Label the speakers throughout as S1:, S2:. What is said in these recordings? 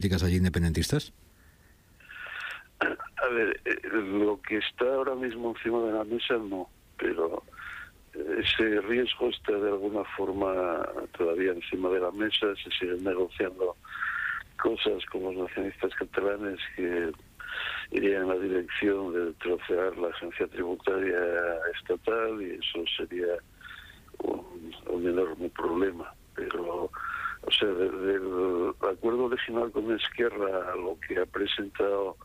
S1: políticas allí independentistas?
S2: A ver, lo que está ahora mismo encima de la mesa no, pero ese riesgo está de alguna forma todavía encima de la mesa. Se siguen negociando cosas con los nacionalistas catalanes que irían en la dirección de trocear la agencia tributaria estatal, y eso sería un enorme problema. Pero, o sea, del acuerdo original con Esquerra a lo que ha presentado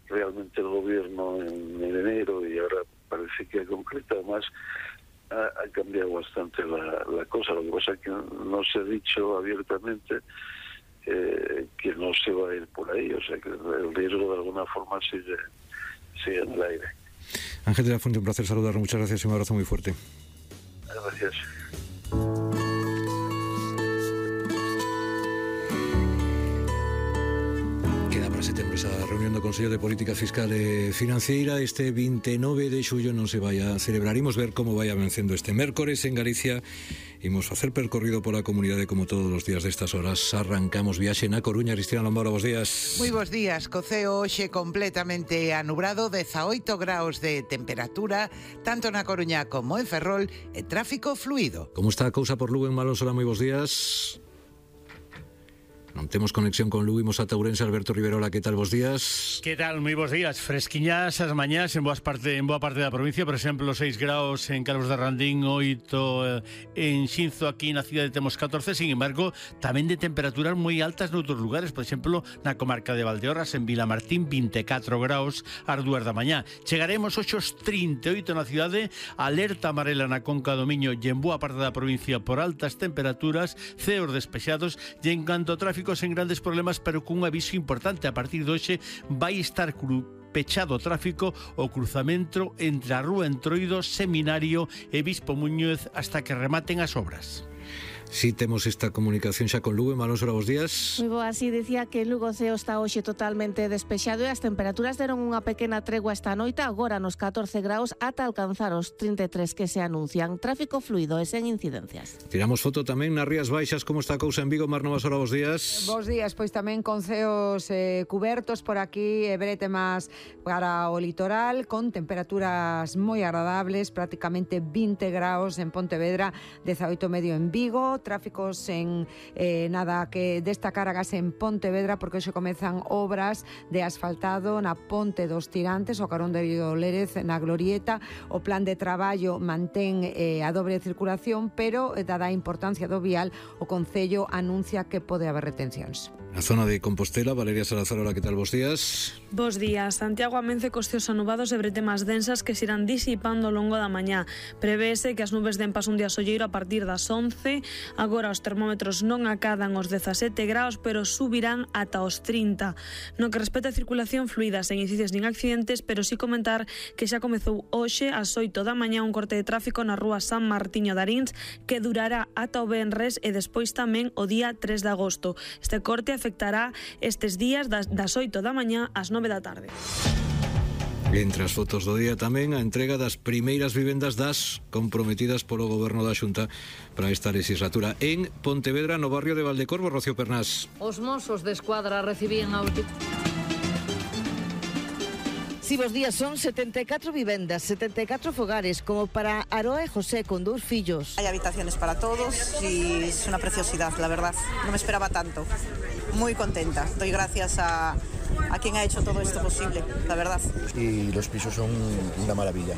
S2: realmente el gobierno en enero, y ahora parece que ha concretado más, ha cambiado bastante la cosa. Lo que pasa es que no se ha dicho abiertamente que no se va a ir por ahí, o sea que el riesgo de alguna forma sigue en el aire.
S1: Ángel de la Fuente, un placer saludar, muchas gracias y un abrazo muy fuerte.
S2: Gracias.
S1: Setembro esa reunión do Consello de Política Fiscal e Financeira. Este 29 de xullo non se vai a celebrar. Imos ver como vai vencendo este mércores en Galicia. Imos facer percorrido pola comunidade como todos os días destas horas. Arrancamos viaxe na Coruña. Cristina Lombora, bos días.
S3: Moi bos días. Coceo hoxe completamente anubrado, 18 graus de temperatura, tanto na Coruña como en Ferrol, e tráfico fluido.
S1: Como está a cousa por Lugo en Malonsola? Moi bos días. Non temos conexión con Lugo, imos ata Ourense. Alberto Riverola, que tal, bos días?
S4: Que tal, moi bos días. Fresquiñas as mañás en boa parte da provincia. Por exemplo, 6 graus en Calvos de Randín, 8 en Xinzo. Aquí na cidade temos 14. Sin embargo, tamén de temperaturas moi altas noutros lugares. Por exemplo, na comarca de Valdeorras, en Vilamartín, 24 graus ás 2 da mañá. Chegaremos hoxe aos 38 na cidade. Alerta amarela na Conca do Miño e en boa parte da provincia por altas temperaturas, ceos despexados, e en canto ao tráfico, sen grandes problemas, pero cun aviso importante. A partir de hoxe vai estar pechado o tráfico o cruzamento entre a Rúa Entroido, Seminario e Bispo Muñoz hasta que rematen as obras.
S1: Si temos esta comunicación xa con Lugo. Malonsola, bos días.
S5: Moi boa, así dicía que Lugo ceo está hoxe totalmente despexado e as temperaturas deron unha pequena tregua esta noite, agora nos 14 graus ata alcanzar os 33 que se anuncian. Tráfico fluido e sen incidencias.
S1: Tiramos foto tamén nas Rías Baixas. Como está a cousa en Vigo? Mar Novasola, bos días.
S6: Bos días, pois tamén con ceos cubertos por aquí, e brete máis para o litoral, con temperaturas moi agradables, prácticamente 20 graus en Pontevedra, 18 medio en Vigo. Tráficos en nada que destacar agás en Pontevedra, porque hoxe comezan obras de asfaltado na Ponte dos Tirantes, o carón de Lérez, na Glorieta. O plan de traballo mantén a dobre circulación, pero dada a importancia do vial, o Concello anuncia que pode haber retencións.
S1: Na zona de Compostela, Valeria Salazar, hola, que tal, bos días?
S7: Bos días. Santiago amence cos ceos anubados e bretemas densas que se irán disipando ao longo da mañá. Prevese que as nubes den paso un día solleiro a partir das 11. Agora os termómetros non acadan os 17 graus, pero subirán ata os 30. No que respecta a circulación fluida, sen incidios nin accidentes, pero sí comentar que xa comezou hoxe ás 8 da mañá un corte de tráfico na rúa San Martiño de Arins que durará ata o venres e despois tamén o día 3 de agosto. Este corte afectará estes días das 8 da mañá ás 9 da tarde.
S1: Entre as fotos do día tamén a entrega das primeiras vivendas das comprometidas polo Goberno da Xunta para esta legislatura en Pontevedra, no barrio de Valdecorvo. Rocío Pernás.
S8: Os Mossos de Escuadra recibían a última...
S9: Si vos días, son 74 vivendas, 74 fogares, como para Aroa e José, con 2 fillos.
S10: Hay habitaciones para todos y es una preciosidad, la verdad. No me esperaba tanto. Muy contenta. Doy gracias a quien ha hecho todo esto posible, la verdad.
S11: Y los pisos son una maravilla.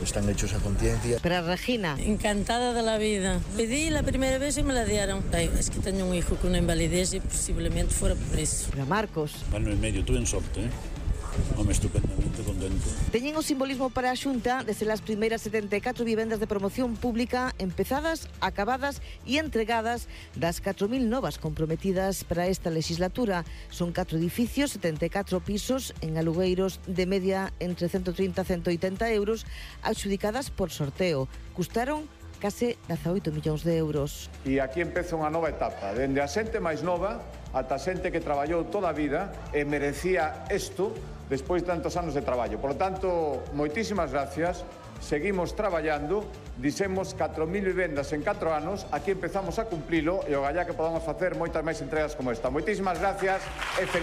S11: Están hechos a conciencia.
S9: Para Regina.
S12: Encantada de la vida. Pedí la primera vez y me la dieron. Ay, es que tengo un hijo con una invalidez y posiblemente fuera por eso.
S9: Para Marcos.
S13: Ano e medio, tuve en sorte, Home, estupendamente contento.
S9: Teñen o simbolismo para a Xunta de ser as primeiras 74 vivendas de promoción pública empezadas, acabadas e entregadas das 4.000 novas comprometidas para esta legislatura. Son 4 edificios, 74 pisos en alugueiros de media entre 130 e 180 euros, adxudicadas por sorteo. Custaron case 18 millóns de euros.
S14: E aquí empeza unha nova etapa, dende a xente máis nova ata a xente que traballou toda a vida e merecía isto despois de tantos anos de traballo. Por lo tanto, moitísimas gracias. seguimos traballando, dixemos 4.000 vivendas en 4 anos, aquí empezamos a cumplilo e o gallá que podamos facer moitas máis entregas como esta. Moitísimas gracias e